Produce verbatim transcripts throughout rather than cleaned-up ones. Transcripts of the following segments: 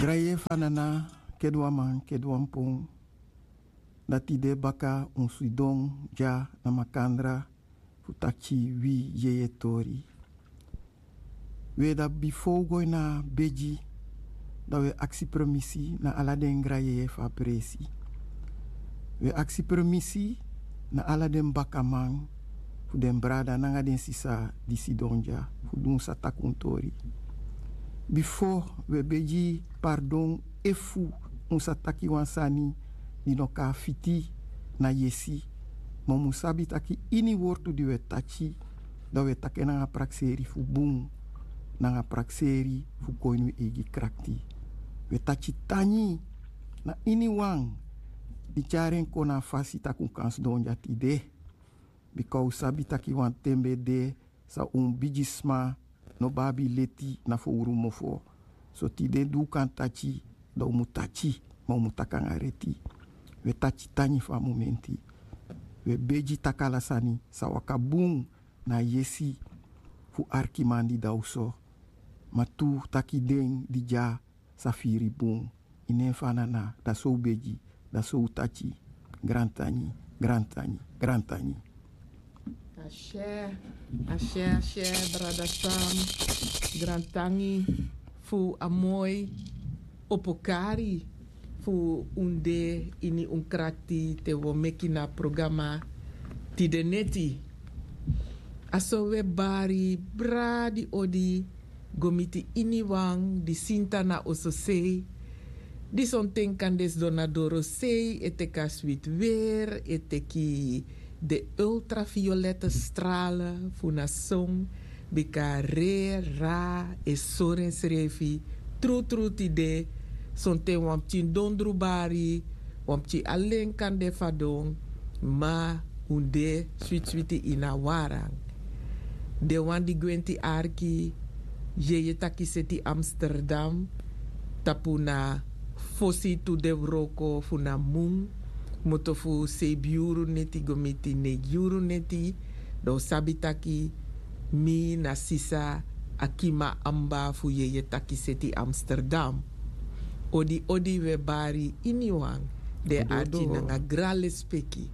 Drai fu a nana, kede wan man, kede wan pon. Dati de baka un sidon dya na makandra fu taki wi yeye tori. We, da bifo un go ini a begi, da we aksi promisi na ala den granjeje fu a presi. We aksi promisi na ala den bakaman fu den brada nanga den sisa di sidon dya fu du un sa taki un tori. Bifo, we begi pardon efu un sa taki wan sani di no kon fiti na yesi. Ma un mus sabi taki ini wortu di we taki, da we taki en nanga prakseri fu bun, nanga prakseri fu go ini wi eigi krakti. We taki tangi na iniwan di tyari en kon na a fasi taki un kan sidon dya tide. Bika un sabi taki wan ten ben de san un bigisma no ben abi leti na fowru mofo. So tide di un kan taki, da un mus taki, ma un mus taki nanga reti. We taki tangi fu a momenti. We begi taki ala sani sa waka bun na a yesi fu arkiman di de na oso. Ma tu taki den di dya sa firi bun. Ini en fu a nana, da so un begi, da so un taki. Grantangi, grantangi, grantangi. Ashe, ashe, ashe, brada Sam. Grantangi fu a moi opokari fu un de ini un krakti te wi o meki na programa tide neti. A so we bari bradi odi go miti iniwan di sinta na ososei, di sonten kan de sidon na dorosei, e teki a switi weri, e teki de ultraviolette strale fu na son, bika re ra e sori ensrefi. Trutru tide sonten wan pikin dondru bari, wan pikin alen kan de fadon, ma un de switi switi ini a waran. Den wan di gwenti arki, yeye taki seti Amsterdam, tapu na fosi tu de wroko fu na mun, moto fu seibi yuru neti go miti neigi yuru neti, da un sabi taki mi na sisa Akima Amba fu yeye taki seti Amsterdam. Odi odi we bari iniwan, den arki nanga gran lespeki.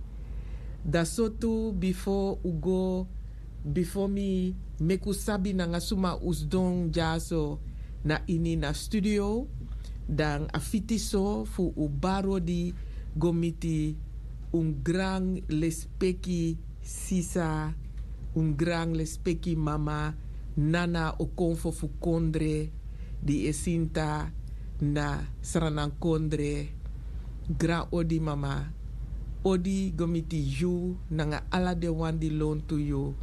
Da so tu bifo un go, bifo mi meki un sabi nanga suma un sidon dyaso na ini na studio, dan a fiti so fu un bari odi go miti un gran lespeki sisa, un gran lespeki mama, Nana Okonfo fu Kondre, di e sinta na Sranan Kondre. Gran odi mama, odi go miti yu nanga ala den wan di lontu yu,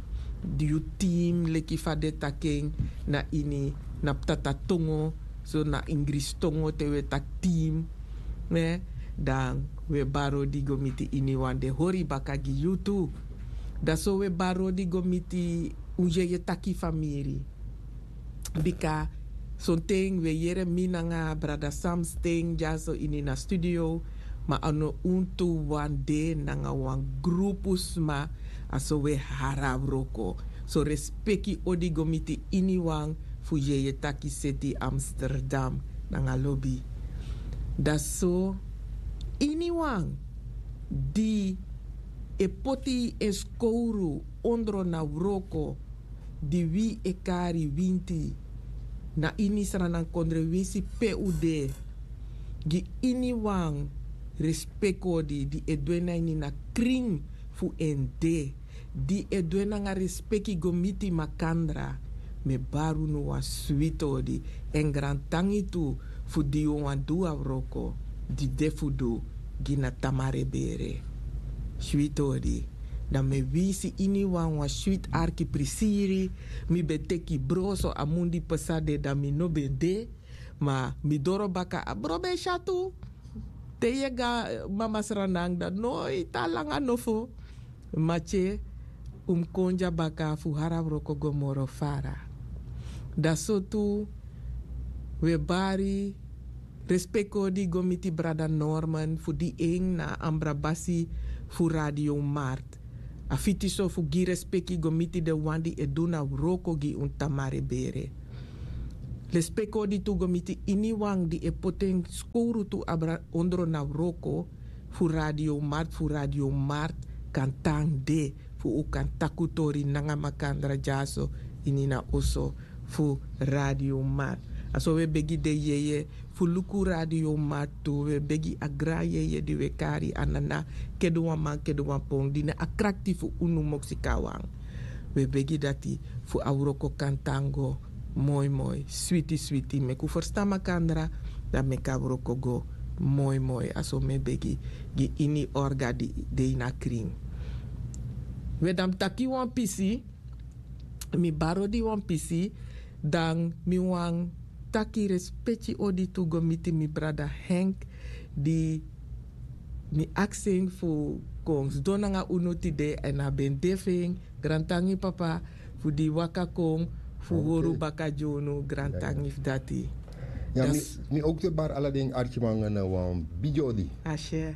yu team leki fa den taki en na ini na ptata tongo, so na Ingrisi tongo te we taki team, ne, dan we bari odi go miti iniwan, den hori baka gi yu tu. Da so we bari odi go miti un yeye taki famiri. Bika sonten we yere mi nanga brada Sam sten dyaso ini na studio, ma a no un tu wan de nanga wan grupu sma, a so we hari a wroko. So respeki odi go miti iniwan fu yeye taki seti Amsterdam nanga lobi. Da so iniwan di e poti en skowru ondro na wroko di wi e kari winti na ini Sranan Kondre, winsi pe un de, gi iniwan respeki odi di e du en na ini na krin fu en de, di e du en nanga respeki go miti makandra. Mi e bari unu wan switi odi, èn grantangi tu fu di yu wani du a wroko di de fu du gi na tamara e bere. Switi odi. Dan mi e winsi iniwan wan switi arki prisiri. Mi ben teki bro, so a mun di pasa de dan mi no ben de. Ma mi doro baka, a bro ben e si a tu. Te yu e go na Mama Sranan, dan noiti a langa nofo. Matye, un mus kon dya baka fu hari a wroko go moro fara. Da so tu we bari respeki odi go miti brada Norman fu di en na a ambra basi fu Radio Mart. A fiti so fu gi respeki go miti den wan di e du na wroko gi un tamara e bere. Lespeki odi tu go miti iniwan di e poti en skowru tu abra ondro na wroko fu Radio Mart, fu Radio Mart kan tan de, fu un kan taki un tori nanga makandra dyaso ini na oso fu Radio Mart. A so un e begi den yeye fu luku Radio Mart tu, un e begi a gran yeye di un e kari a nana Keduwan Man Keduwan Pon, di na a krakti fu unu Moksikawan. Un e begi dati fu a wroko kan tan go moi moi, switi switi, meki un ferstan makandra, dan meki a wroko go moi moi. A so mi e begi gi ini orga di de ini a krin. We, dan mi taki wan pisi, mi bari odi wan pisi, dan mi wani taki respeki odi tu go miti mi brada Henk, di mi aksi en fu kon sidon nanga unu tide, èn a ben de fu en. Grantangi papa fu di waka kon fu hori un baka gi unu. Grantangi fu dati. Ya, mi, mi ook te bar ala den arkiman na wan bigi odi. Ashe.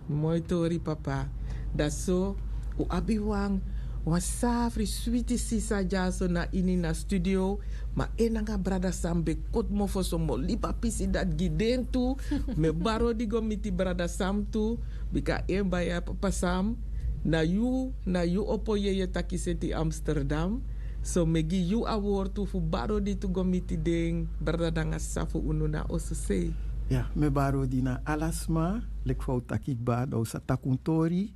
Moi tori papa. Dati so, un abi wan, wan safri switi sisa dyaso na ini na studio. Ma en nanga brada Sam ben koti mofo so, mi o libi a pisi dati gi den tu. Mi e bari odi go miti brada Sam tu. Bika en baya papa Sam, na yu, na yu opo yeye taki seti Amsterdam. So mi e gi yu a wortu fu bari odi tu go miti den brada nanga sisa fu unu na oso sei. Ya, mi e bari odi na ala sma, leki fa un taki kba, dan un sa taki un tori.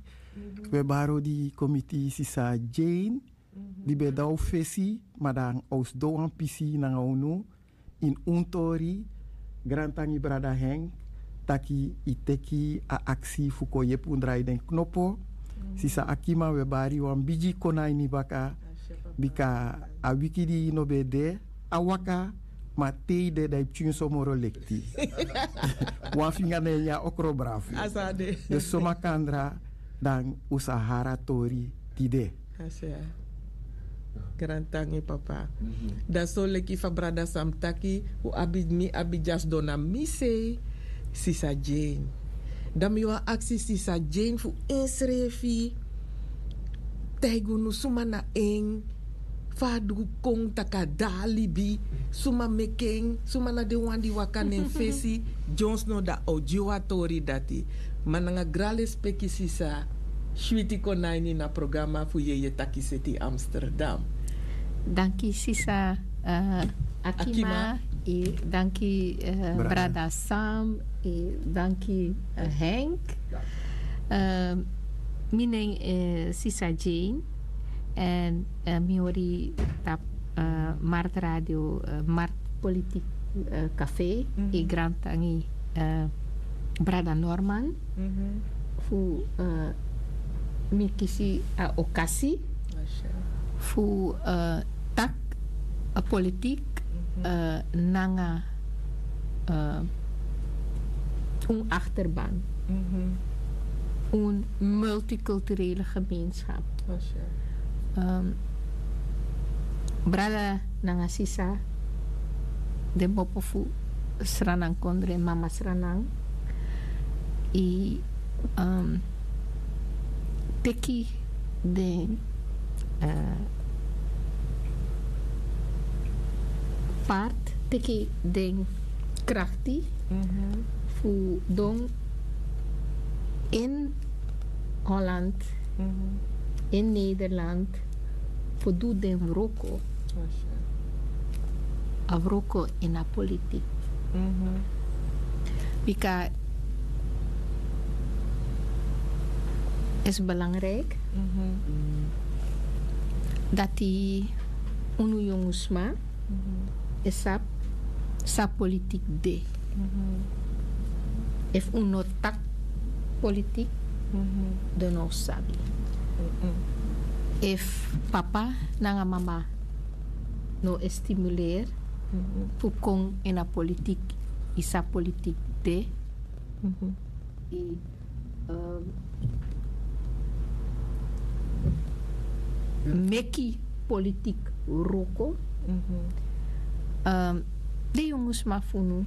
Mi e bari odi kon miti sisa Jane, di ben de na un fesi, ma dan a o sidon wan pisi nanga unu ini un tori. Grantangi brada Henk, taki yu teki a aksi fu kon yepi un drai den knopo. Sisa Akima, un e bari yu wan bigi konai ini baka, bika a wiki di yu no ben de, a waka, ma te yu de dan yu pikin so moro lekti. Wan finga na en nyan okro brafu. A so a de. Den so makandra, dan un sa hari a tori tide. A so ya. Grantangi papa. Dan so leki fa brada Sam taki, un abi, mi abi dya sidon na mi sei, sisa Jane. Dan mi wani aksi sisa Jane fu ensrefi taigi unu suma na en, fa a du kon taki a de a libi, suma meki en, suma na den wan di waka na en fesi. Dyonsno dan a o gi yu a tori dati. Ma nanga gran lespeki sisa, switi kon na ini na programa fu yeye taki seti Amsterdam. Danki sisa, eh, Akima. Akima. E danki, eh, brada Sam, e danki, eh, Henk. Eh, mi nen, eh, sisa Jane. Èn, eh, mi hori tapu, eh, Mart Radio, eh, Mart Politik, eh, Café, e grantangi, eh, brada Norman fu, eh, mi kisi a okasi fu, eh, taki a politik, eh, nanga, eh, un achterban, un multiculturele gemeenschap. Ehm, brada nanga sisa, den mopo fu Sranan kondre, mama Sranan, e, ehm, teki den, eh, part, teki den krakti fu don in Holland, in Nederland, fu du den wroko. A wroko ini a politik. Bika is belangrijk dati unu yongu sma e sabi san politik de. Efu un no taki politik, den no sabi. Efu papa nanga mama no e stimuleri fu kon ini a politik, i sabi politik de, i, ehm, meki politik wroko. Ehm, den yongu sma fu unu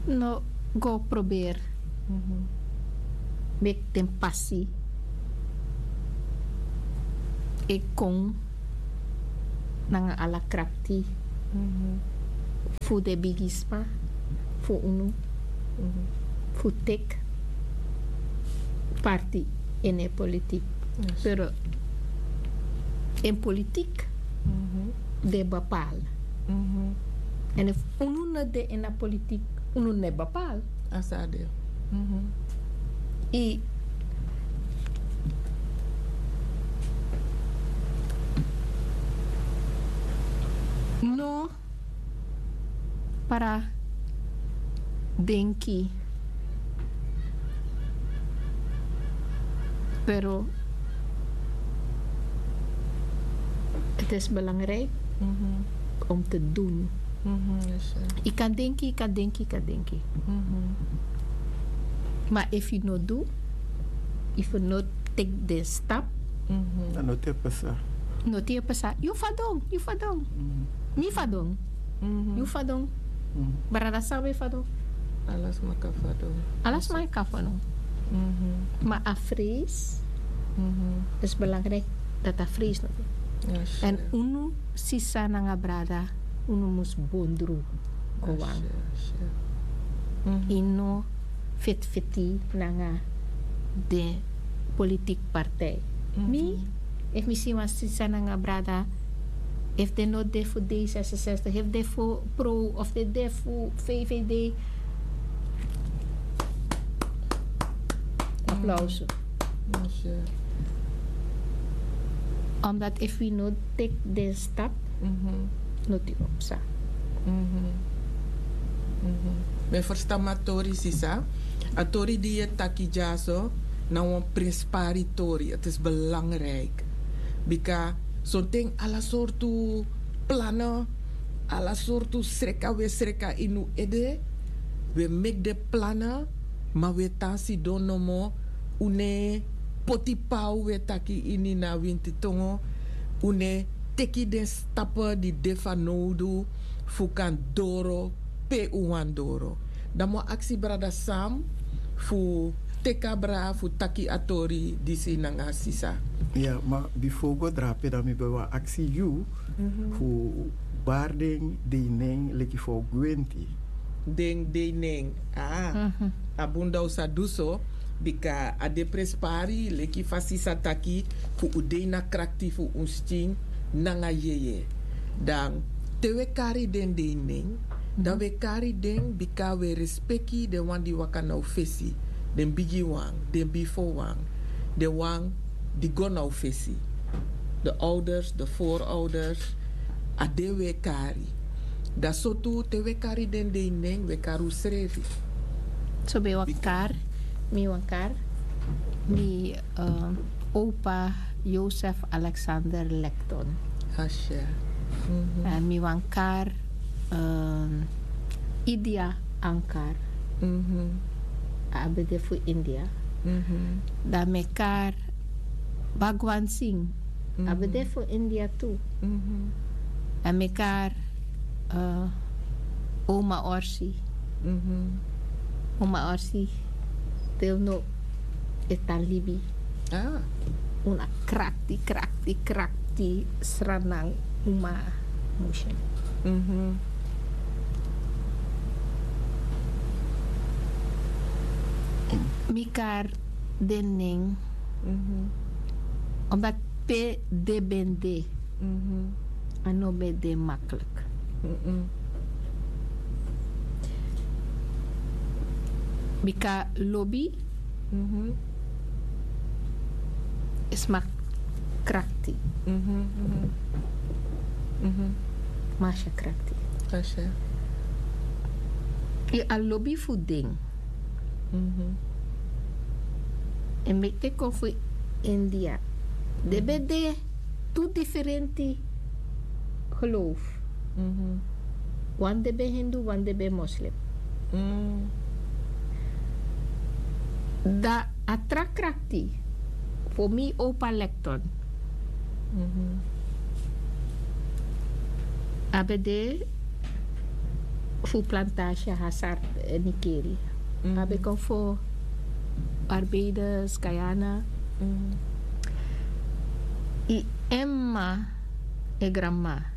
no go proberi meki den pasi e kon nanga ala krakti fu den bigisma fu unu fu teki parti ini en politik. Pero en politik den bepaal. En efu unu no de ini a politik, unu no e bepaal. A sa de. I no para denki, pero het is belangrijk om te doen. Yu kan denki, yu kan denki, yu kan denki. Ma efu yu no du, efu yu no teki den stap, dan no te pasa. No te pasa. Yu fadon, yu fadon. Mi fadon. Yu fadon. Brada Sam e fadon. Ala sma kan fadon. Ala sma kan fadon. Ma a vrees is belangrijk dat a vrees no. En unu sisa nanga brada, unu mus bondru go wan. Yu no feti feti nanga den politik partij. Mi, efu mi si wan sisa nanga brada, efu den no de fu D zesenzestig, efu den fu Pro of den de fu V V D, aplauso. Omdat efu wi no teki den stap, no teki opsa. Mi e ferstan mi a tori, sisa. A tori di yu e taki dyaso na wan prenspari tori. Het is belangrijk. Bika sonten ala sortu plannen, ala sortu sreka wi e sreka ini un ede. Wi e meki den plannen, ma wi e tan sidon nomo. Un no e poti paw, wi e taki ini a wintitongo. Un no e teki den stappen di de fanowdu fu kan doro pe un wani doro. Dan mi o aksi brada Sam fu teki abra fu taki a tori disi nanga a sisa. Ya, ma bifo un go drape, dan mi ben wani aksi yu fu bari den dei nen leki fa un gwenti. Den dei nen, a bun dan un sa du so. Bika a de prenspari, leki fa sisa taki, fu un dei na krakti fu un skin nanga yeye. Dan te wi e kari den dei nen, dan wi e kari den bika wi e respeki den wan di waka na un fesi, den bigiwan, den bifowan, den wan di go na un fesi, de ouders, de voorouders. A den wi e kari. Dan so tu te wi e kari den dei nen, wi e kari unsrefi. So ben wan kari, mi wan kari, mi, eh, opa Joseph Alexander Lekton. Asha. En mi wan kari, eh, Idia Ankar. A ben de fu India. Dan mi e kari Bhagwan Singh. A ben de fu India tu. Dan mi e kari, eh, Oma Orsi. Oma Orsi, te no e tan libi. Wan krakti, krakti, krakti sranan uma musu. Mi kari den nen. Omdat pe den ben de, a no ben de makkelijk. Bika lobi sma krakti. Masha krakti. Yu a lobi fu den. En meki den kon fu India. Den ben de tu diferenti geloof. Wan den ben Hindu, wan den ben moslim. Dan a tra krakti fu mi opa Lekton. A ben de fu plantasi Hazard, eh, Nikeri. A ben kon fu Barbados, Guyana. I en mama, en granmama.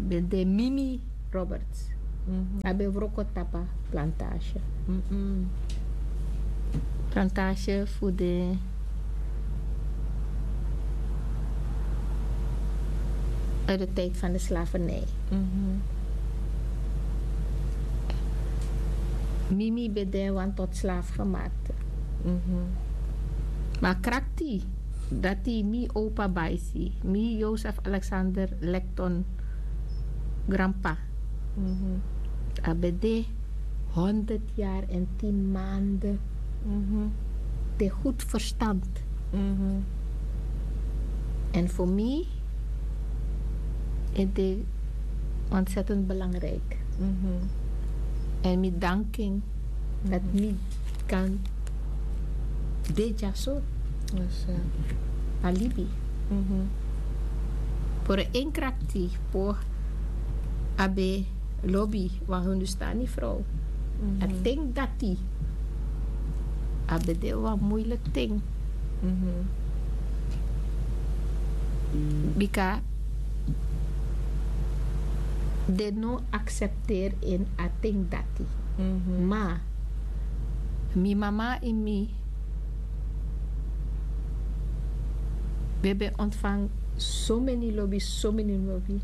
ben de Mimi Roberts. A ben wroko tapu a plantage. Plantage fu de uit de tijd van de slavernij. Mimi ben de wan tot slaaf gemaakt. Ma krakti dati mi opa baisi, mi Joseph Alexander Lekton granpa, a ben de honderd jaar en tien maanden. De goed verstand. En voor mij is dit ontzettend belangrijk. En mi danking dat mi kan de dyaso a libi. Por en krakti por a ben lobi wan Hindustani vrouw. A ten dati a ben de wan moeilijk ten. Bika den no accepteer en a ten dati. Ma mi mama en mi ben ben ontvang so meni lobi, so meni lobi.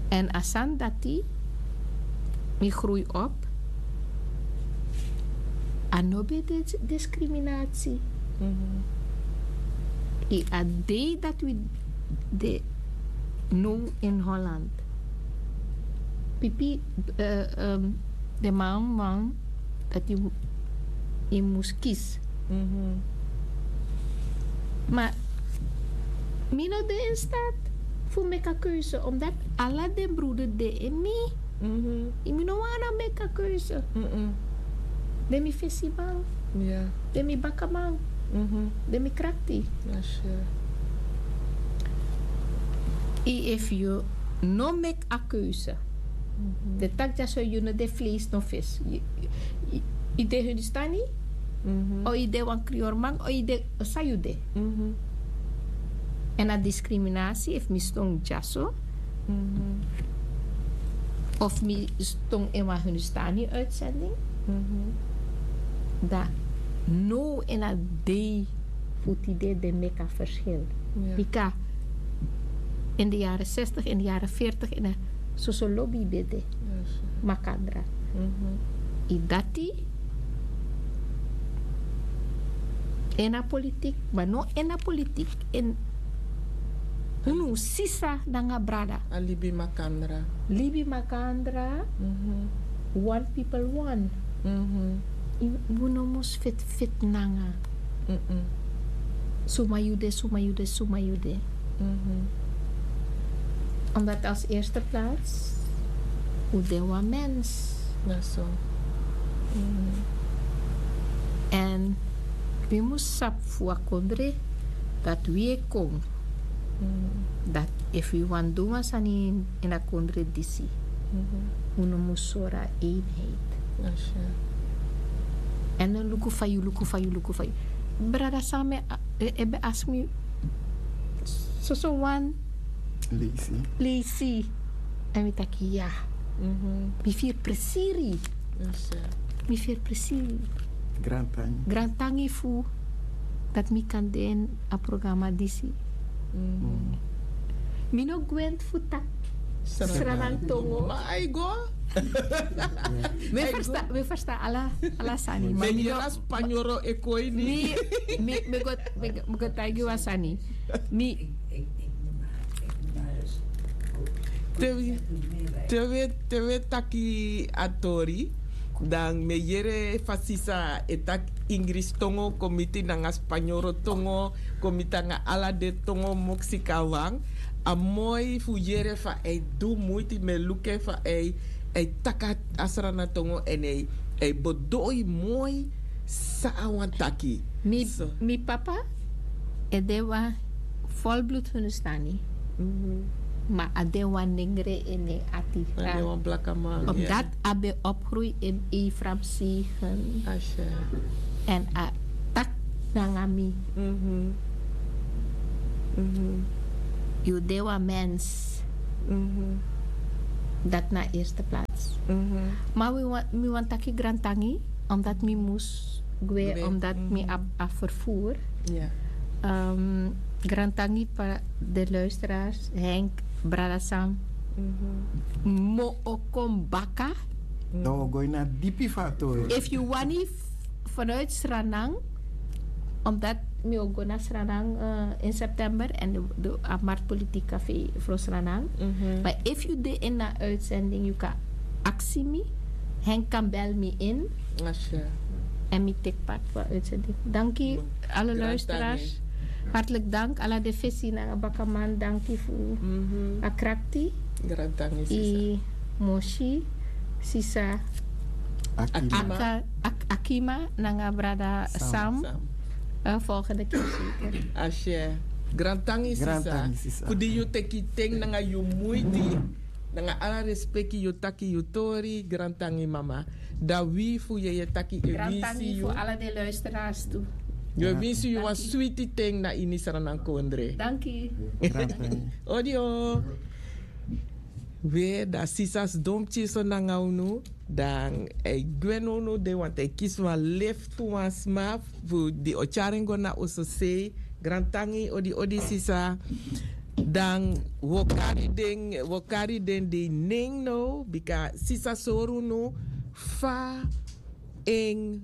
En a sani dati mi groei op. A no ben de discriminatie. I a dei dat wi de no in Holland. Pipi, de man man dat i mus kis. Ma mi no de in staat fu meki a keuze omdat ala den bruder de in mi. I mi no wan na meki a keuze. Den mi fesi man, den mi baka man, den mi krakti. I efu yu no meki a keuze, den taki dyaso yu no de vlees no vis. I de Hindustani, o i de wan kriyorman, o i de san yu de. En a discriminatie efu mi ston dyaso of mi ston in wan Hindustani uitzending, dan no in a dei fu tide de meki a verschil. Bika in de jaren zestig, in de jaren veertig, in de soso lobi ben de makandra. I dati in a politiek, ma no in a politiek, in unu sisa nanga brada. A libi makandra. Libi makandra. One people one. Unu mus fit fit nanga. Suma yu de, suma yu de, suma yu de. Omdat als eerste plaats u de wan mens. En wi mus sabi fu a kondre dat wi e kon, dat efu wi wani du wan sani in a kondre disi, unu mus sori a eenheid. En no luku fa yu luku fa yu luku fa yu. Brada same e ben ask mi soso wan leisi. En mi taki ya. Mi firi presiri. Mi firi presiri. Grantangi fu dat mi kan de ini a programa disi. Mi no gwenti fu taki Sranantongo. Ma a e go. Mi e ferstan ala sani. Ma mi no, spanyoro e kon ini. Mi mi go taigi wan sani. Mi te wi te wi taki a tori, dan mi e yere fa sisa e taki Ingris tongo kon miti nanga spanyoro tongo kon miti nanga ala den tongo moksika wan. A moi fu yere fa a e du muiti mi e luku en fa a e taki a Srana tongo èn a e bedoi moi san a wani taki. Mi papa e de wan folblut Hindustani, ma a de wan nengre ini en ati. Omdat a ben opgroei in Efraim zegen. En a taki nanga mi: yu de wan mens. Dat na eerste plaats. Maar mi wani taki grantangi, omdat mi mus gwe, omdat mi abi a vervoer. Grantangi pa de luisteraars, Henk, brada Sam. Mo o kon baka. Dan wi o go ini a dipi fu a tori. Efu yu wani, vanuit Sranan, omdat mi o go na Sranan in september en de a marktpolitiek café fu Sranan. Maar efu yu de in a uitzending, yu kan aksi mi. Henk kan bel mi in. En mi teki part fu a uitzending. Danki, alle luisteraars. Hartelijk dank ala de fesi nanga bakaman, danki fu a krakti. Grantangi sisa. I mosi sisa Akima. Akima nanga brada Sam. Volgende keer zeker. Ashe. Grantangi sisa. Fu di yu teki ten nanga yu muiti, nanga ala respeki yu taki yu tori. Grantangi mama. Dan wi fu yeye taki e winsi yu. Ala de luisteraars tu. Yu e winsi yu wan switi ten na ini Sranan kondre. Danki. Odio. We, dan sisa sidon pikinso nanga unu. Dan e gwe na unu de, want e kisi wan lift fu wan sma fu di o tyari en go na oso sei. Grantangi odi odi sisa. Dan wi o kari den, wi o kari den dei nen now, bika sisa sori unu fa en,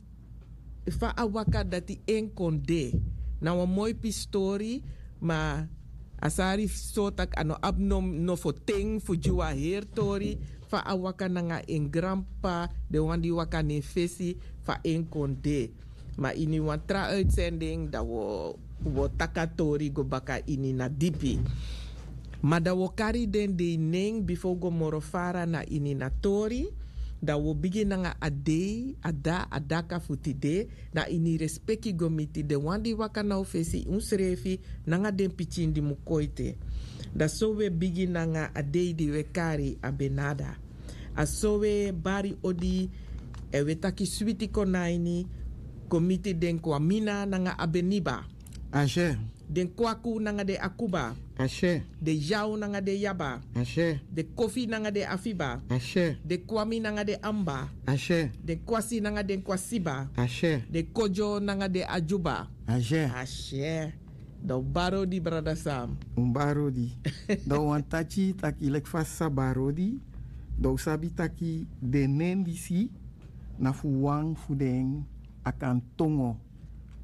fa a waka dati en kon de. Na wan moi pisi tori, ma a sari so tak' a no abi no, nofo ten fu gi wan heri tori fa a waka nanga en granp'pa, den wan di waka na en fesi, fa en kon de. Ma ini wan tra uitzending dan wi o, wi o taki a tori go baka ini na dipi. Ma dan wi o kari den dei nen bifo wi go moro fara na ini na tori. Dan wi o bigin nanga a dei, a da, a daka fu tide. Na ini respeki go miti den wan di waka na un fesi, unsrefi nanga den pikin di mu kon ete. Dan so wi e bigin nanga a dei di wi e kari a benada. A so wi e bari odi, èn wi e taki switi kon na ini, kon miti den kwamina nanga a beniba. Ashe. Den kwaku nanga den akuba. Ashe. Den yaw nanga den yaba. Ashe. Den kofi nanga den afiba. Ashe. Den kwami nanga den amba. Ashe. Den kwasi nanga den kwasiba. Ashe. Den kodyo nanga den adyuba. Ashe. Ashe. Dan un bari odi, brada Sam. Un bari odi. Dan un wani taki taki leki fa sisa bari odi. Dan un sabi taki den nen disi na fu wan fu den Akan tongo.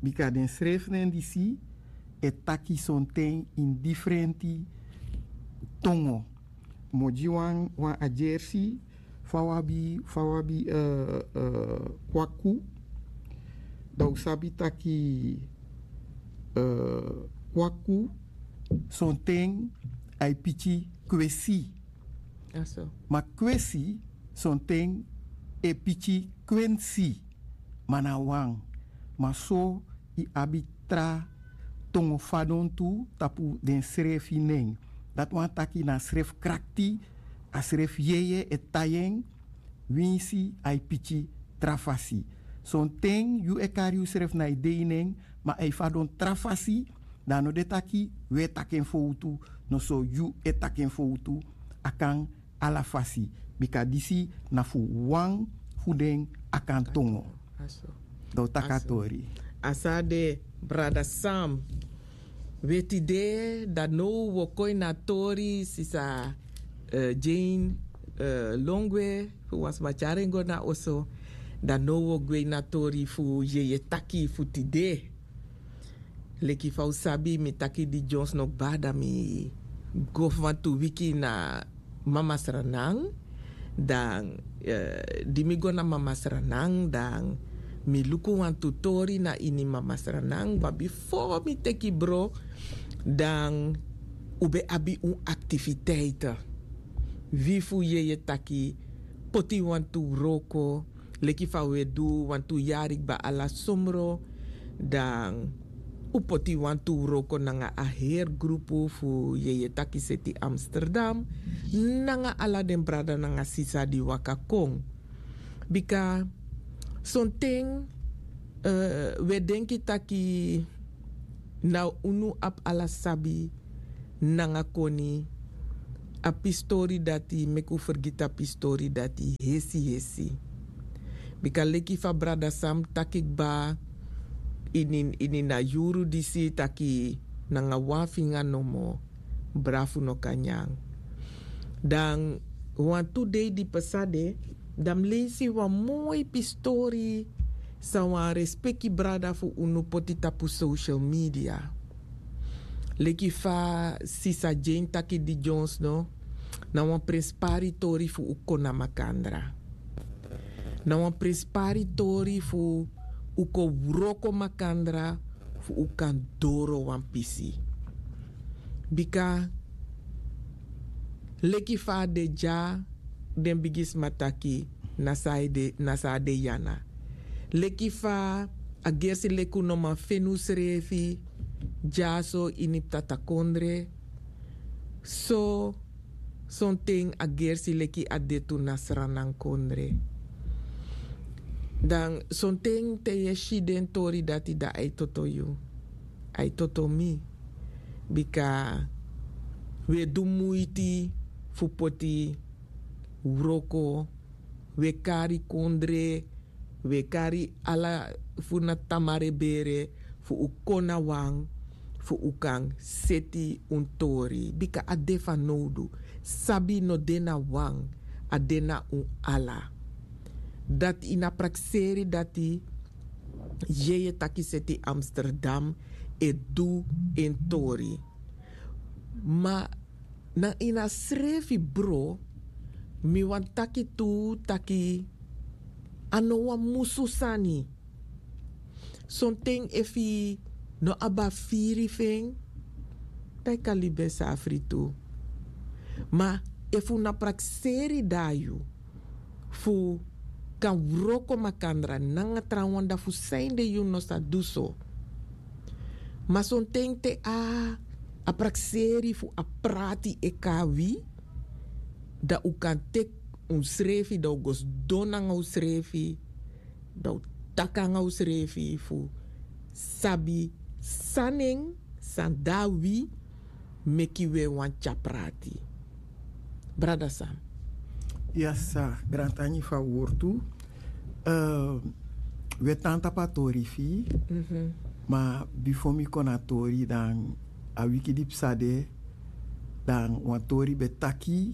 Bika den srefi nen disi e taki sonten ini difrenti tongo. Mi o gi wan, wan adyersi, fa wi abi, fa wi abi, eh, eh, kwaku. Dan un sabi taki, eh, kwaku sonten a e piki kwesi. Ma kwesi sonten e piki kwensi. Ma na wan. Ma so i abi tra tongo fadon tu tapu den srefi nen. Dati wani taki na srefi krakti, a srefi yeye e tai en, winsi a e piki tra fasi. Sonten yu e kari yusrefi na i dei nen, ma a e fadon tra fasi, dan a no de taki wi e taki en fowtu, noso yu e taki en fowtu, a kan ala fasi, bika disi na fu wan fu den Akan tongo. Dan un taki a tori. A sa de, brada Sam. We tide, dan now wi o kon ini a tori, sisa, eh, Jane, eh, lon gwe, fu wan sma tyari en go na oso. Dan now wi o gwe ini a tori fu yeye taki fu tide. Leki fa un sabi, mi taki di dyonsi no kba, dan mi go fu wantu wiki na Mama Sranan. Dan, eh, di mi go na Mama Sranan, dan mi luku wantu tori na ini Mama Sranan. Ma bifo mi teki bro, dan un ben abi un aktiviteiti. Wi fu yeye taki poti wantu wroko, leki fa un e du wantu yari kba ala somro, dan un poti wantu wroko nanga a heri grupu fu yeye taki seti Amsterdam, nanga ala den brada nanga sisa di waka kon. Bika sonten, eh, wi e denki taki na unu abi ala sabi nanga koni, a pistori dati meki un fergiti a pistori dati hesi hesi. Bika leki fa brada sam taki kba, ini ini na yuru disi taki nanga wan finga nomo brafu no kan nyan. Dan wantu dei di pesa de, dan mi leisi wan moi pistori san wan respeki brada fu unu poti tapu social media. Leki fa sisa jane taki di jones no, na wan prenspari tori fu un kon na makandra. Na wan prenspari tori fu un kon wroko makandra fu un kan doro wan pisi. Bika leki fa a de dya, den bigisma taki na san a de na san a de yana. Leki fa a gersi leki un no man feni unsrefi dyaso ini ptatakondre, so sonten a gersi leki a de tu na sranankondre. Dan sonten te yu e si den tori dati dan a e toto yu, a e toto mi. Bika wi e du muiti fu poti wroko, wi e kari kondre, wi e kari ala fu na tamare bere fu un kon na wan fu un kan seti un tori bika a de fanowdu. Sabi no de na wan, a de na un ala. Dati ini a prakseri dati yeye taki seti amsterdam e du en tori. Ma na ini a srefi bro, mi wani taki tu taki a no wan musu sani. Sonten efu yu no abi a firi fu en, dan yu kan libi en safri tu. Ma efu na prakseri dan a yu fu kan wroko makandra nanga trawan dan fu san ede yu no sa du so. Ma sonten te a a prakseri fu a prati e kon na wi, dan un kan teki unsrefi dan un go sidon nanga unsrefi, dan un taki nanga unsrefi fu sabi san nen, san de na wi meki wi e wani tyari prati. Brada san? Ya sa, grantangi fu a wortu. Wi e tan tapu a tori fu yu. Ma bifo mi kon na a tori dan a wiki di psa de, dan wan tori ben taki,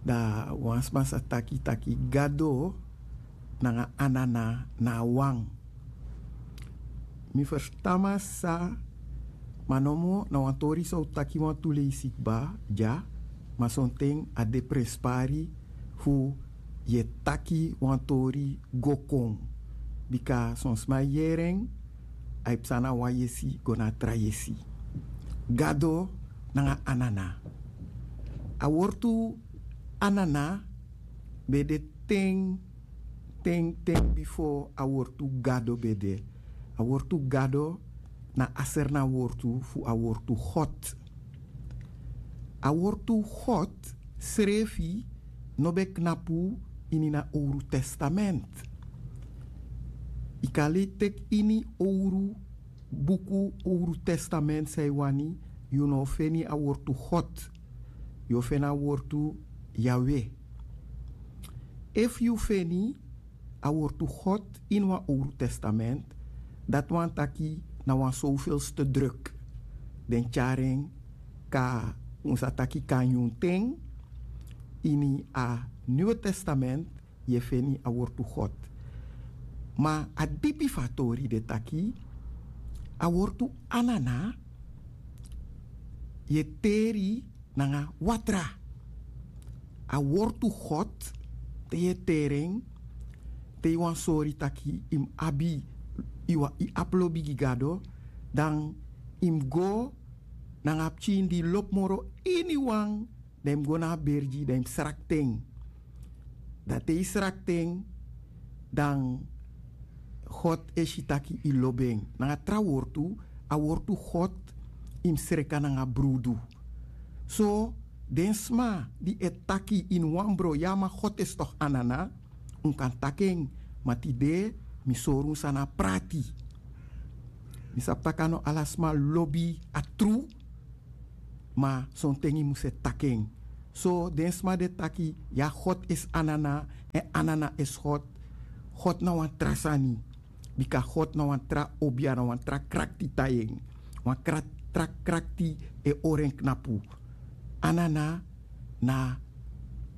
dan wan sma sa taki taki gado nanga anana na a wan. Mi ferstan masisa. Ma nomo na wan tori san un taki wantu leisi kba dya. Ma sonten a de prenspari fu yu e taki wan tori go kon. Bika son sma e yere en, a e psa na wan yesi go na a tra yesi. Gado nanga anana. A wortu anana ben de ten ten ten bifo a wortu gado ben de. A wortu gado na a serna wortu fu a wortu god. A wortu god srefi no ben knapu ini na owru testament. Yu kan lei teki ini owru buku, owru testament san yu wani, yu no o feni a wortu god. Yu o feni a wortu yawe. Efu yu feni a wortu god ini wan owru testament, dati wani taki na wan sovelste druk. Den tyari en kon na, un sa taki kon na nyun ten. Ini a niwe testament yu e feni a wortu god. Ma a dipi fu a tori de taki a wortu anana yu e teri nanga watra. A wortu god, te yu e teri en, te yu wani sori taki yu mus abi, yu abi lobi gi gado, dan yu mus go nanga a pikin di lobi moro iniwan, dan yu mus go na a bergi dan yu mus srakti en. Dan te yu srakti en, dan god e si taki yu lobi en. Nanga tra wortu, a wortu god yu mus sreka nanga brudu. So den sma di e taki ini wan bron, ya ma god e stoki anana, un kan taki en. Ma tide mi sori un san na a prati. Mi sabi tak' a no ala sma lobi a tru. Ma sonten yu mus e taki en. So den sma di e taki ya god esi anana, èn anana esi god. God na wan tra sani. Bika god na wan tra obia na wan tra krakti tai en. Wan tra krakti e hori en knapu. Anana na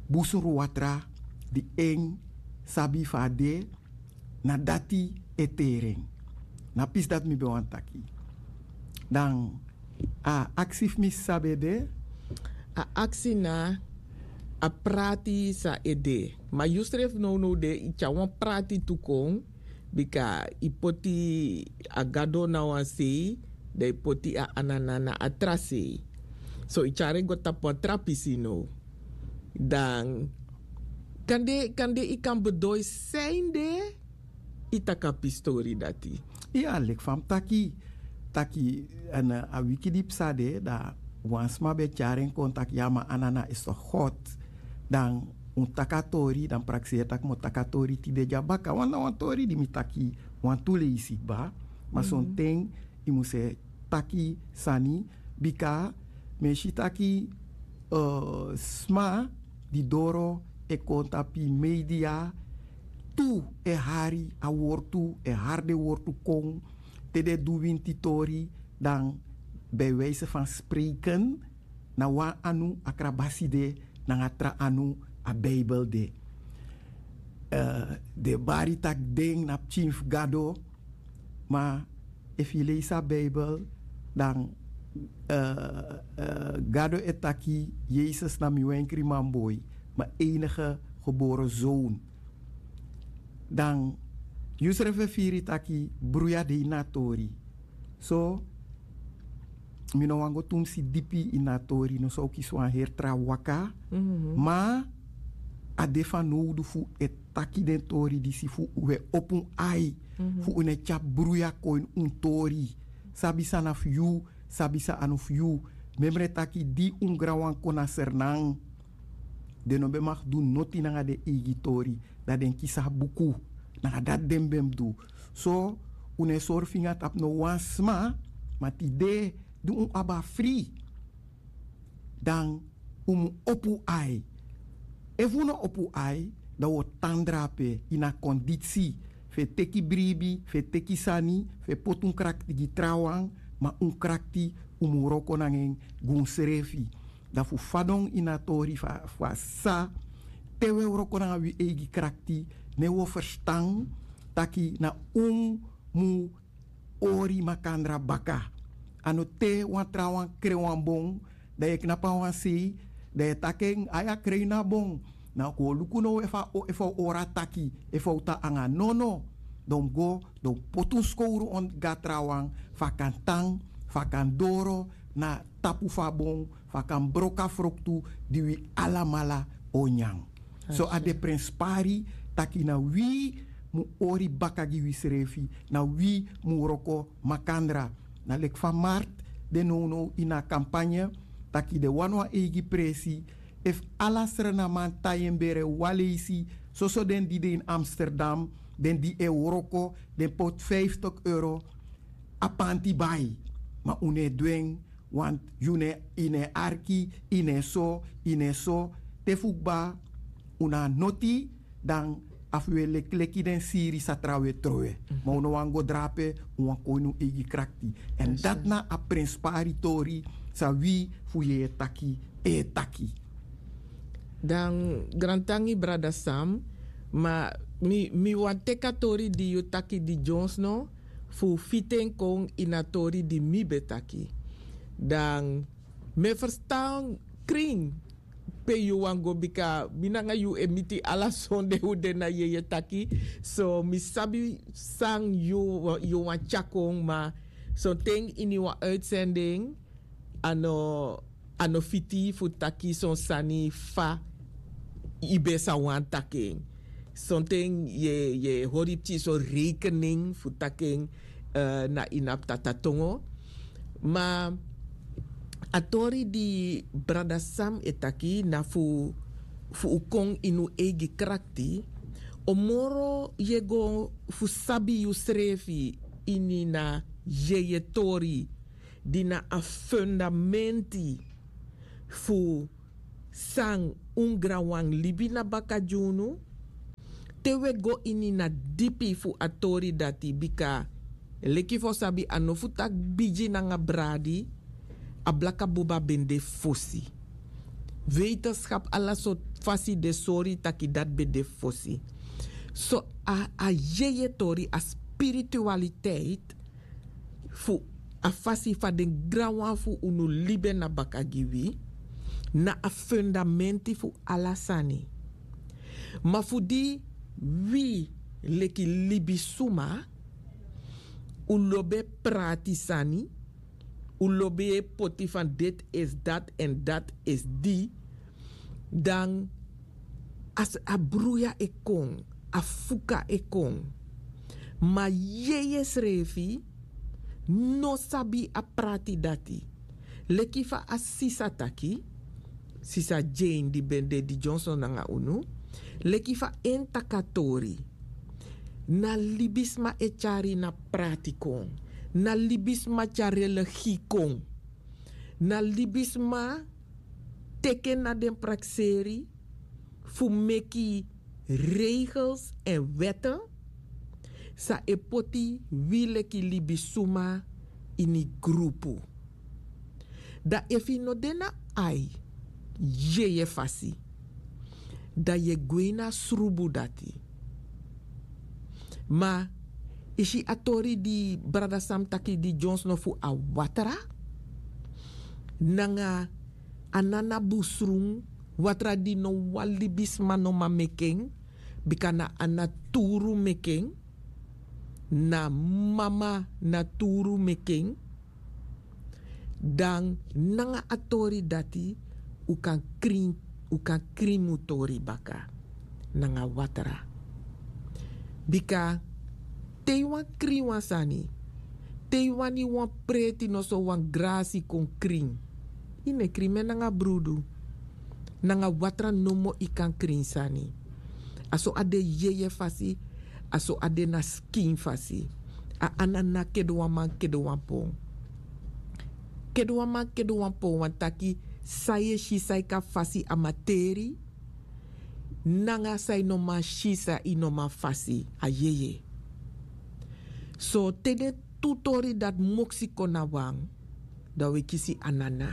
busunruwatra di en sabi fa a de. Na dati e teri en. Na pisi dati mi ben wani taki. Dan a aksi fu mi sabi ede. A aksi na a prati san ede. Ma yusrefi nownow de yu tyari wan prati tu kon. Bika yu poti a gado na wan sei dan yu poti a anana na a tra sei. So yu tyari en go tapu wan tra pisi now. Dan kande kande yu kan bedoi san yu de. Yu taki a pistori dati. Iya leki fa mi taki taki a wiki di psa de dan wan sma ben tyari en kon taki ya ma anana esi tok god. Dan un taki a tori dan prakseri tak' mi o taki a tori tide dya baka wan na wan tori di mi taki wantu leisi kba. Ma sonten yu mus e taki sani bika mi e si taki sma di doro e kon tapu yu media tu e hari a wortu e hari den wortu kon te den e du winti tori dan bijwijse fan spreken na wan anu a krabasi de nanga tra anu a bijbel de. Den bari tak' den na pikin fu gado. Ma efu yu leisi a bijbel dan gado e taki yesus na mi wenkriman boi mi enige gebore zoon. Dan yusrefi e firi taki bruya de ini a tori. So mi no wani go tumsi dipi ini a tori no sa o kisi wan heri tra waka. Ma a de fanowdu fu e taki den tori disi fu un e opo un ai fu un no e tyari bruya kon ini un tori. Sabi san na fu yu. Sabi san a no fu yu. Memre taki di un granwan kon na sernan den no ben maki du noti nanga den eigi tori. Dan den kisi a buku nanga dati den ben mus du. So un no e sori finga tapu no wan sma. Ma tide di un abi a fri dan un mus opo un ai. Efu un no opo un ai dan un o tan drape ini a konditsi fu e teki bribi fu e teki sani fu e poti un krakti gi trawan. Ma un krakti un mus wroko nanga en gi unsrefi. Dan fu fadon ini a tori fu a sisa te un e wroko nanga wi eigi krakti ne un o ferstan taki na un mus hori makandra baka. A no te wan trawan kren wan bon dan yu e knapu na wan sei dan yu e taki en ai a kren yu no a bon. Na kon luku now efu a o hori a taki efu a o tan nanga nono. Dan un mus go dan un poti un skowru go na trawan fu a kan tan fu a kan doro na tapu fu a bon fu a kan broko a froktu di wi alamala o nyan. So a de prenspari taki na wi mus hori baka gi wisrefi na wi mus wroko makandra. Na leki fa mart de nownow ini a kampanye taki den wani wan eigi presi efu ala srenaman tai en bere wan leisi soso den di de ini amsterdam den di e wroko den poti fiftig euro a panti bai. Ma un no e du en want yu no e arki yu no e so yu no e so te fu kba un na a noti dan a fu wi e lekleki den siri sa trawe trowe. Ma un no wani go drape un wani kon ini un eigi krakti èn dati na a prenspari tori san wi fu yeye taki e taki. Dan grantangi brada sam ma mi wani teki a tori di yu taki di dyonsno fu fiti en kon ini a tori di mi ben taki. Dan mi e ferstan krin pe yu wani go bika mi nanga yu e miti ala sonde un de na yeye taki. So mi sabi san yu wani tyari kon ma sonten ini wan uitsending a no a no fiti fu taki son sani fa yu ben sa wani taki en. Sonten yu e hori pikin son rekening fu taki en na ini a ptata tongo. Ma a tori di brada sam e taki na fu fu un kon ini un eigi krakti. O moro yu e go fu sabi yusrefi ini na yeye tori di na a fundamenti fu San un granwan libi na baka gi unu. Te un e go ini na dipi fu a tori dati bika leki fa un sabi a no fu taki bigi nanga bradi. A blaka buba ben de fosi. Wetenskap ala sortu fasi de sori taki dati ben de fosi. So a a yeye tori a spiritualiteit fu a fasi fa den granwan fu unu libi en na baka gi wi na a fundamenti fu ala sani. Ma fu di wi leki libisuma un lobi e prati sani, un lobi e poti fan deti esi dati èn dati esi di, dan a bruya e kon, a fuka e kon. Ma yeye srefi no sabi a prati dati. Leki fa a sisa taki, sisa jane di ben de di johnson nanga unu, leki fa en taki a tori, na libisma e tyari na prati kon, na libisma tyari religi kon, na libisma teke na den prakseri fu meki regels èn wète san e poti wi leki libisuma ini grupu. Dan efu yu no de na ai yeye fasi, dan yu e gwe ini a srubu dati. Ma yu si a tori di brada sam taki di dyonsno fu a watra nanga a nana busrun, watra di no wan libisma no man meki en, bika na a naturu meki en, na mama naturu meki en. Dan nanga a tori dati un kan krin, un kan krin mu tori baka nanga watra. Bika te yu wani krin wan sani, te yu wani wan preti noso wan grasi kon krin, yu no e krin mi en nanga brudu. Nanga watra nomo yu kan krin sani. A so a de yeye fasi, a so a de na skin fasi. A anana kede wan man kede wan pon. Kede wan man kede wan pon wani taki san yu e si san yu kan fasi a materi, nanga san yu no man si san yu no man fasi a yeye. So te den tu tori dati moksi kon na wan, dan un e kisi anana.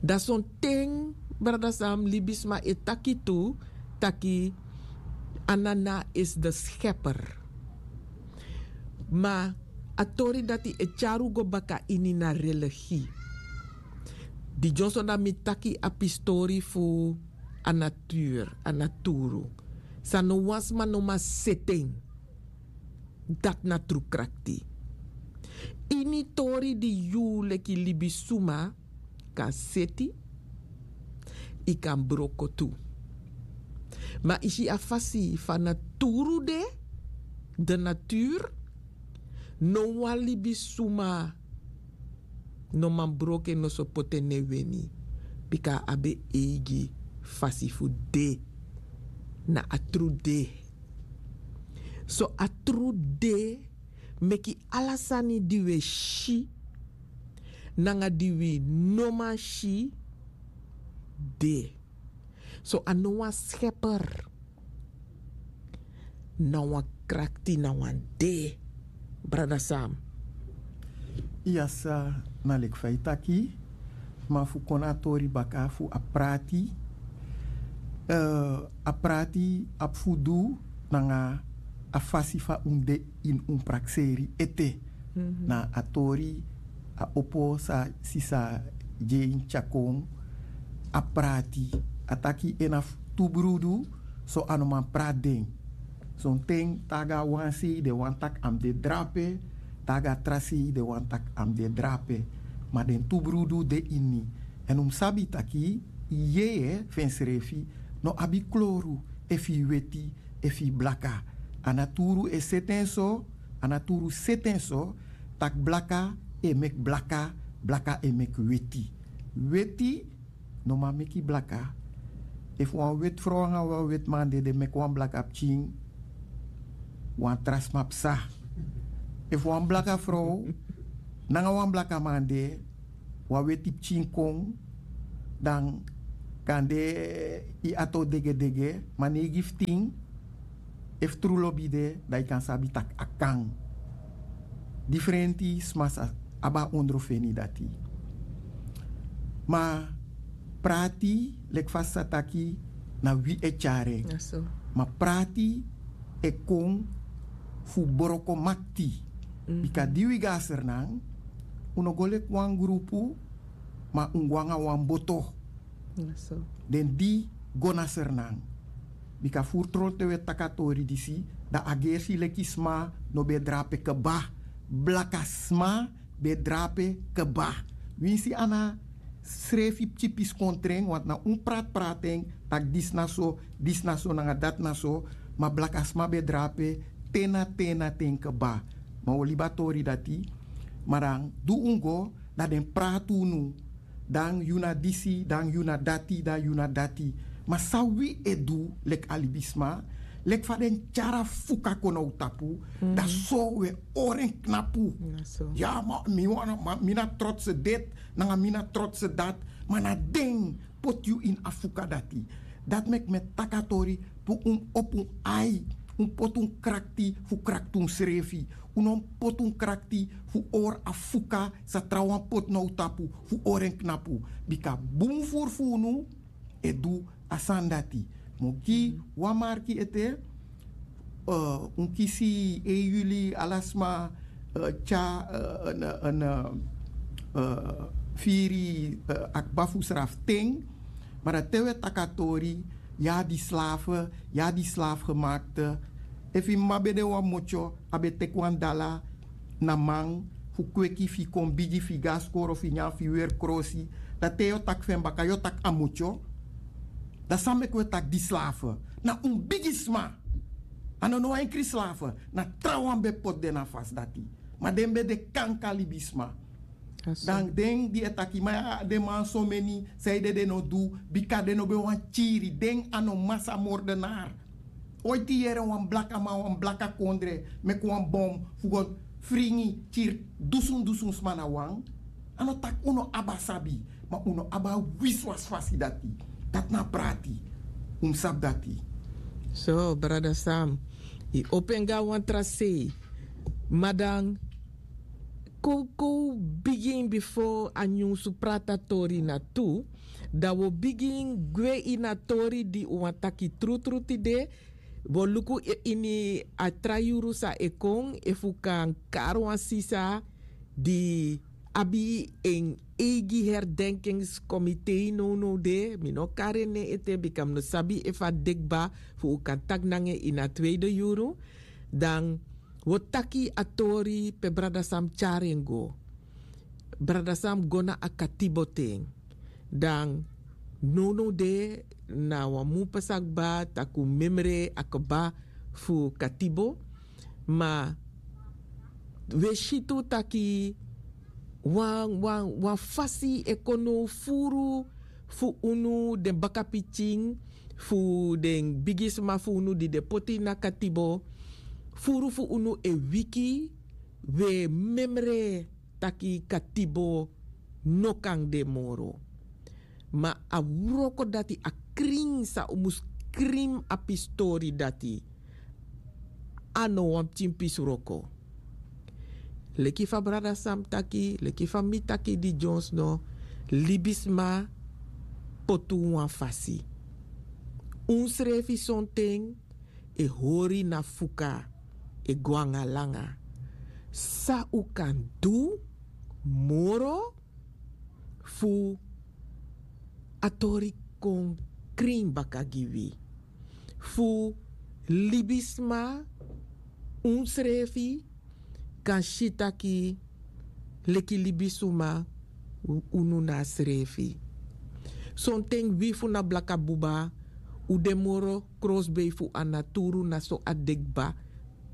Dan sonten brada sam libisma e taki tu taki anana isi de skeper. Ma a tori dati e tyari un go baka ini na religi. Di dyonson dan mi taki a pistori fu a naturu, a naturu san no wan sma no man seti en. Dati na tru krakti. Ini tori di yu leki libisuma kan seti, yu kan broko tu. Ma yu si a fasi fa naturu de, de natur, no wan libisuma no man broko en noso poti en na en weni. Bika a abi en eigi fasi fu de. Na a tru de. So a tru de meki ala sani di wi e si nanga di wi no man si de. So a no wan skeper, na wan krakti na wan de. Brada sam. Iya sa, na leki fa yu taki. Ma fu kon na a tori baka fu a prati, a prati abi fu du nanga a fasi fa un de ini un prakseri ete. Na a tori a opo san sisa jane tyari kon, a prati, a taki en na fu tu brudu. So a no man prati den. Sonten taga a wan sei den wani taki a mus de drape, taga a tra sei den wani taki a mus de drape. Ma den tu brudu de ini. Èn un mus sabi taki yeye fu ensrefi no abi kloru, efu yu weti efu yu blaka. A naturu e seti en so, a naturu seti en so tak' blaka e meki blaka, blaka e meki weti. Weti no man meki blaka. Efu wan weti frow nanga wan weti man de den meki wan blaka pikin, wan tra sma psa. Efu wan blaka frow nanga wan blaka man de, wan weti pikin kon, dan Kande yu ati o degedege, ma no e gi fu tin. Efu tru lobi de, dan yu kan sabi tak' a kan. Difrenti sma sa abi a ondrofeni dati. Ma prati, leki fa sa taki, na wi e tyari en. Ma prati e kon fu broko makti. Bika di wi go na Sranan, un no go leki wan grupu, ma un go nanga wan boto. Den di go na Sranan. Bika furu tron te wi e taki a tori disi, dan a gersi leki sma no ben e drape kba. Blaka sma ben e drape kba. Winsi a na srefi pikin pisi kon tren, want na un prati prati en, tak' disi na so, disi na so nanga dati na so. Ma blaka sma ben e drape te na te na ten kba. Ma wi o libi a tori dati. Ma dan di un go, dan den prati unu. Dan yu na disi, dan yu na dati, dan yu na dati. Ma san wi e du leki a libisma, leki fa den tyari a fuka kon na un tapu, dan so wi e hori en knapu. Ya, ma mi wan, ma mi na trotse dit, nanga mi na trotse dati. Ma na den poti yu ini a fuka dati. Dati meki mi e taki a tori, fu un opo un ai, un poti un krakti fu krakti unsrefi. Un no mus poti un krakti fu hori a fuka san trawan poti na un tapu, fu hori en knapu. Bika bun furu fu unu e du a sani dati. Mi o gi wan marki ete, eh, un kisi en yuli, ala sma, eh, tyari, eh, en, en, eh, eh, firi, eh, a kba fu srafu ten. Ma dan te wi e taki a tori, ya di slaaf, ya di slaaf gemaakt. Efu yu mama ben de wan motyo, a ben teki wan dala na man fu kweki fu yu kon bigi, fu yu go na skoro, fu yu nyan, fu yu weri krosi. Dan te yu o taki fu en baka, yu o taki a motyo. Dan san meki wi e taki di slaaf? Na un bigisma. A no no wan enkri slaaf. Na trawan ben poti den na fasi dati. Ma den ben de kankan libisma. Dan den di e taki, ma den man someni, sanede den no du, bika den no ben wani kiri, den a no masamordenar. Oiti yere wan blakaman, wan blaka kondre, meki wan bom, fu go fringi, kiri dusun dusun sma na wan. A no taki un no abi a sabi, ma un no abi a wiswasi fasi dati. Dati na a prati. Un mus sabi dati. So, brada Sam, yu opo en go na wan tra sei. Ma dan, kon, kon bigin bifo a nyunsu prati a tori na tu. Dan wi o bigin gwe ini a tori di un wani taki trutru tide. Wi o luku i-, ini a tra yuru san e kon, efu un kan kari wan sisa di abi en eigi herdenkingskomite nownow de. Mi no o kari en nen ete, bika mi no sabi efu a de kba fu un kan taki nanga en ini a tweede yuru. Dan wi o taki a tori pe brada Sam tyari en go. Brada Sam go na a katibo ten. Dan nownow de na wan mun pasa kba, tak' un memre a kba fu katibo. Ma wi e si tu taki wan, wan, wan fasi e kon now furu fu unu, den bakapikin, fu den bigisma fu unu di den poti na katibo. Furu fu unu e wiki, wi e memre taki katibo no kan de moro. Ma a wroko dati, a krin san un mus krin a pistori dati, a no wan pikin pisi wroko. Leki fa brada Sam taki, leki fa mi taki di dyonsno, libisma poti un wan fasi. Unsrefi sonten e hori na fuka, e go nanga langa. San un kan du moro fu a tori kon krin baka gi wi? Fu libisma, unsrefi kan si taki leki libisuma, u-, unu na srefi. Sonten wi fu na blaka buba, u de moro krosbei fu a naturu, na so a de kba.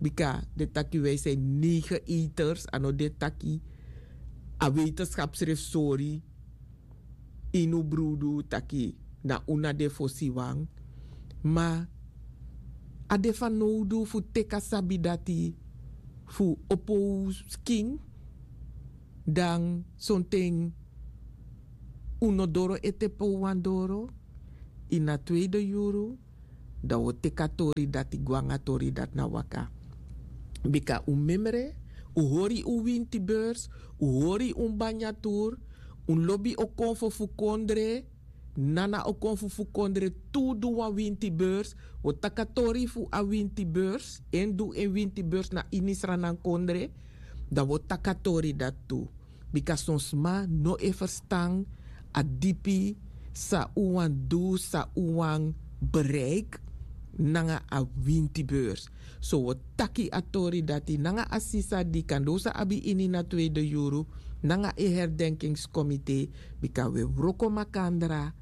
Bika den taki wij zijn negen eters, a no de taki a wetenschap srefi sori ini un brudu taki na un na den fosi wan. Ma a de fanowdu fu teki a sabi dati fu opo un skin. Dan sonten un no doro ete pe un wani doro. ini a tweede yuru, dan wi o teki a tori dati go nanga a tori dati na waka. Bika un memre, un hori un winti beurs, un hori un banya tur, un lobi o kon fu fu kondre, nana o kon fu fu kondre tu du wan winti beurs. Wi o taki a tori fu a winti beurs, en du en winti beurs na ini sranan kondre. Dan wi o taki a tori dati tu. Bika son sma no e ferstan a dipi san un wani du, san un wani bereiki nanga a winti beurs. So wi o taki a tori dati nanga a sisa di kande un sa abi ini na tweede yuru, nanga a herdenkingskomite. Bika wi e wroko makandra,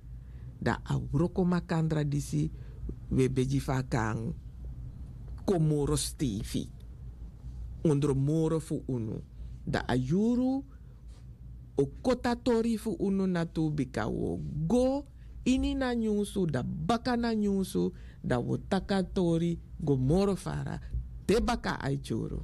dan a wroko makandra disi wi e begi fu a kan kon moro steifi ondro moro fu unu. Dan a yuru o koti a tori fu unu na tu, bika wi o go ini na nyunsu, dan baka na nyunsu, dan wi o taki a tori go moro fara. Te baka a e tyuru.